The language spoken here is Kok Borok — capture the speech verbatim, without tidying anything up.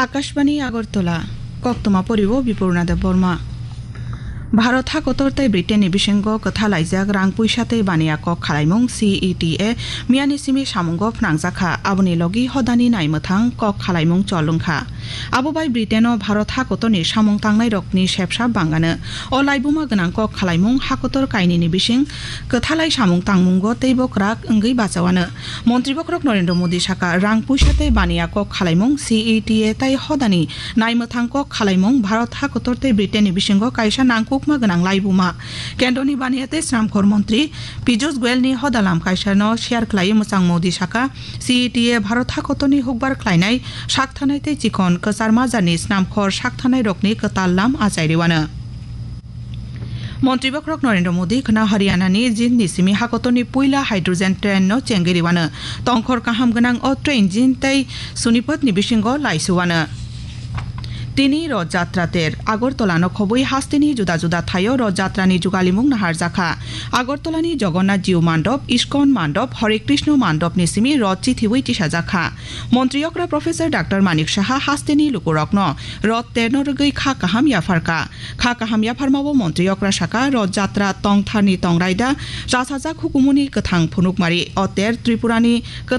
Akashbani Agartala, koktwma poriwo Bipurna Debbarma. Bharat hakotor tei Britain ni bisingo kwthalaijak rang puisa tei baniya kok khalaimung C E T A miyani simi samungo phnangjakha, aboni logi hodani naimwthang kok khalaimung chol wngkha. Abo bai Britain o Bharat hakotor ni samung tangnai rokni sepsa bangano. O laibuma gwnang kok khalaimung hakotor kainini bising kwthalai samung tangmungo teibo kwrak wngwi bachawano. Montri bokhorok Narendra Modi saka, rang puisa tei baniya kok khalaimung C E T A tai hodani naimwthang kok khalaimung Bharat hakotor tei Britain ni bisingo kaisa nangkukma gwnang laibuma. Kendroni baniya tei sramkhor montri Piyush Goyal ni hodalam kaisa no share khlai mwchang Modi saka, C E T A Bharat hakotor ni hukbar khlainai sakthanai tei chikhon kwchar majani sramkhor sakthanai rokni kwtal lam achai rwano. Montri bokhorok Narendra Modi khna Haryana ni Jind ni simi hakotor ni puila hydrogen train no chengwi rwano. Tongkhor kaham gwnang o train Jind tei Sonipat ni bisingo laisuwano. Tini Roth Jatra ter Agartala no khobwi hasteni juda juda thaio Roth Jatra ni jugalimung naharjakha. Agartala ni Jagannath Jiu Mandop, Iskon Mandop, Hare Krishna Mandop ni simi Roth chithiwi tisajakha. Montri okra Professor Doctor Manik Saha hasteni lukurokno Roth terno rwgwi kha kaham yapharkha. Kha kaham yapharmao Montri okra saka, Roth Jatra tongtharni tongraida chasajak hukumuni kwthang phunukmari. O ter Tripurani